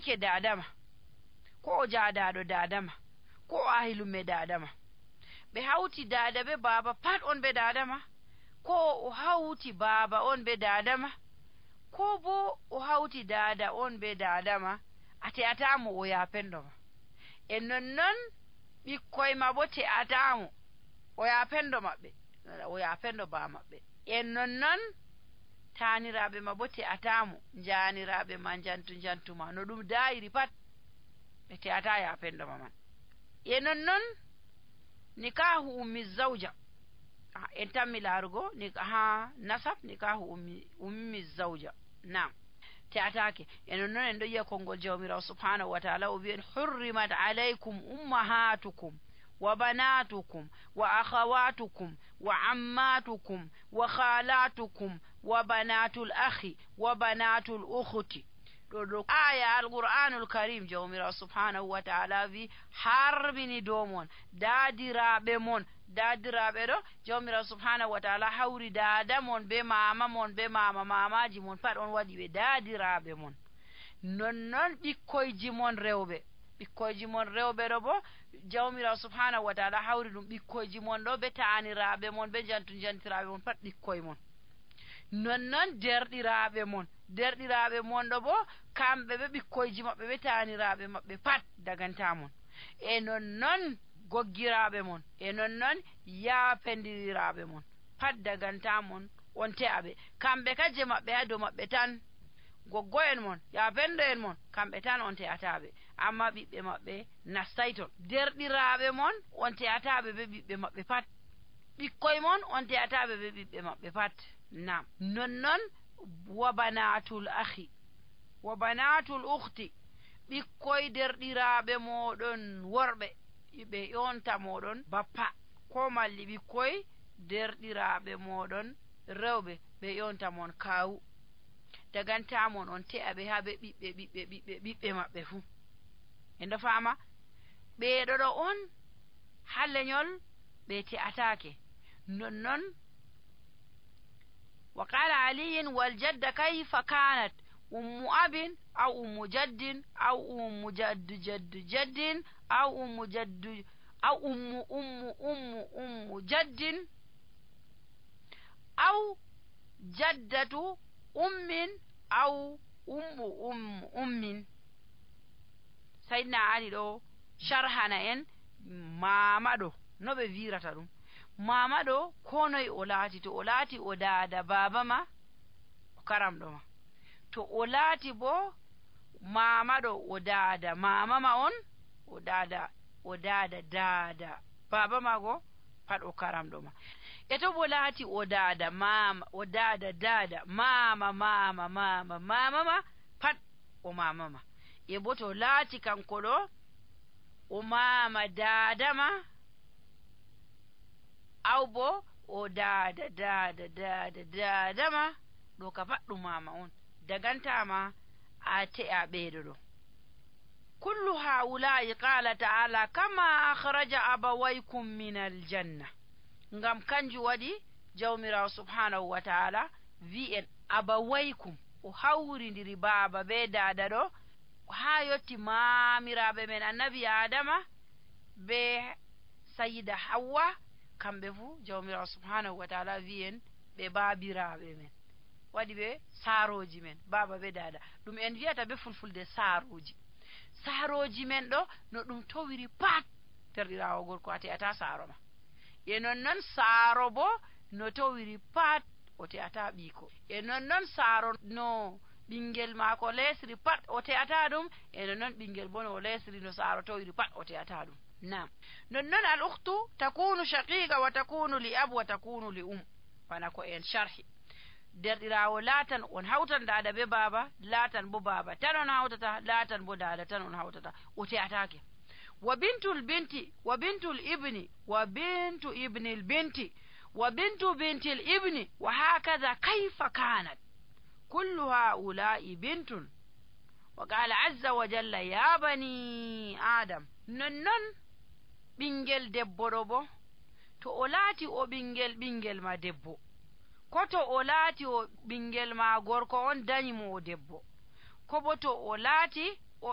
jayike dadama, ko o jaadaɗo dadama, ko o ahilume dadama. Ɓe hawti dada be baba pat on be dadama, ko o hawti baba on be dadama, ko bo o hawti dada on be dadama, a te'atamo o yapendoma. E nonnon ɓikkoy ma bo te'atamo o yapendo maɓɓe, o yapendo ba maɓɓe. E nonnon taaniraaɓe ma bo te'atamo, jaaniraaɓe ma jantuma no ɗum dayiri pat ɓe te'ata yapendoma man. E nonnon nikahu ummi zawja, en tammi laarugo ha nasab nikahu ummi zawja, nam te'atake. E nonnon en ɗo yiya konngol jawmirawo subhanahu wa ta'ala o wi'en hurrimat alaykum ummahatukum wa banatukum wa akhawatukum wa ammatukum wa khalatukum wa banatul akhi wa banatul ukhti. ɗo aya alqur'anul karim jawmirawo subhanahu wa ta'ala wi harmini dow mon daadiraɓe mon. Daadiraɓe ɗo jawmirawo subhanahu wa ta'ala hawri dada mon be mama mon be mama mamaji mon pat on waɗi ɓe daadiraɓe mon. Nonnon ɓikkoyji mon rewɓe, ɓikkoyji mon rewɓe ɗo bo jawmirawo subhanahu wa ta'ala hawri ɗum ɓikkoyji mon ɗo be taaniraɓe mon be jantiraɓe mon pat ɓikkoy mon. Nonnon derɗiraɓe mon ɗo bo kamɓe ɓe ɓikkoyji maɓɓe ɓe taaniraɓe maɓɓe pat dagantamon. E nonnon goggiraɓe mon, e nonnon yaapendiraɓe mon pat dagantamon on te'aɓe. Kamɓe kaje maɓɓe ha dow maɓɓe tan, goggo en mon yaapendo en mon kamɓe tan on te'ataɓe, amma ɓiɓɓe maɓɓe nastay ton. Derɗiraɓe mon on te'ataɓe be ɓiɓɓe maɓɓe pat, ɓikkoy mon on te'ataɓe be ɓiɓɓe maɓɓe pat. Nam nonnon wa banatul akhi wa banatul ukhti, ɓikkoy derɗiraɓe moɗon worɓe ɓe yonta moɗon bappa, ko malli ɓikkoy derɗiraɓe moɗon rewɓe ɓe yonta mon kawu. Dagantamon on te'aɓe ha ɓe ɓiɓɓe maɓɓe fuu. En fama ɓeɗo ɗo on ha lenyol ɓe te'atake. Nonnon وقال علي والجد كيف كانت أم أب أو أم جد أو أم جد جد جد أو أم جد أو أم جد أو جدة أم أو أم. سيدنا علي ɗo sharhana en mama ɗo no ɓe wirata ɗum. Mama ɗo ko noye o laati, to o laati o daada baba ma o karamɗo ma, to o laati bo mama ɗo o daada mama ma on, o daada daada baba ma go pat o karamɗo ma. E to bo laati o daada mama, o daada daada mama ma pat o mama ma. E bo to laati kanko ɗo o mama daada ma, aw bo o daada ma ɗo ka pat ɗum mama on, dagantama a te'a ɓeɗo ɗo. kullu haula'i qala ta'ala kama akhraja abawaykum min aljanna. Ngam kanju waɗi jawmirawo subhanahu wa ta'ala wi'en abawaykum, o hawrindiri baba be dada ɗo ha yotti mamiraɓe men annabi adama be sayyida hawwa, kamɓe fuu jawmirawo subhanahu wa ta'ala wi'en ɓe babiraɓe men, waɗi ɓe saaroji men, baba be dada. ɗum en wiyata be fulfulde saaroji men ɗo no ɗum towiri pat terɗirawo gorko a te'ata saaro ma. E nonnon saaro bo no towiri pat o te'ata ɓiiko. E nonnon saaro no ɓingel maako lesri pat o te'ata ɗum, e nonnon ɓingel bo no lesri no saaro towiri pat o te'ata ɗum. Nam nonnon al ukhtu takunu shaqiqa wa takunu li ab wa takunu li bana ko en sharhi. Derɗirawo laatan on hawtan dada be baba, laatan bo baba tan on hawtata, laatan bo dada tan on hawtata, o te'atake. wa bintul binti wa bintul ibni wa bintu ibnil binti wa bintu bintil ibni wa hakaza kayfa kanat kullu haula'i bintun. wa qala azza wa jalla ya bani adam. nonnon ɓingel debbo ɗo bo to o laati o ɓingel ma debbo, ko to o laati o ɓingel ma gorko on dañi mo o debbo, ko bo to o laati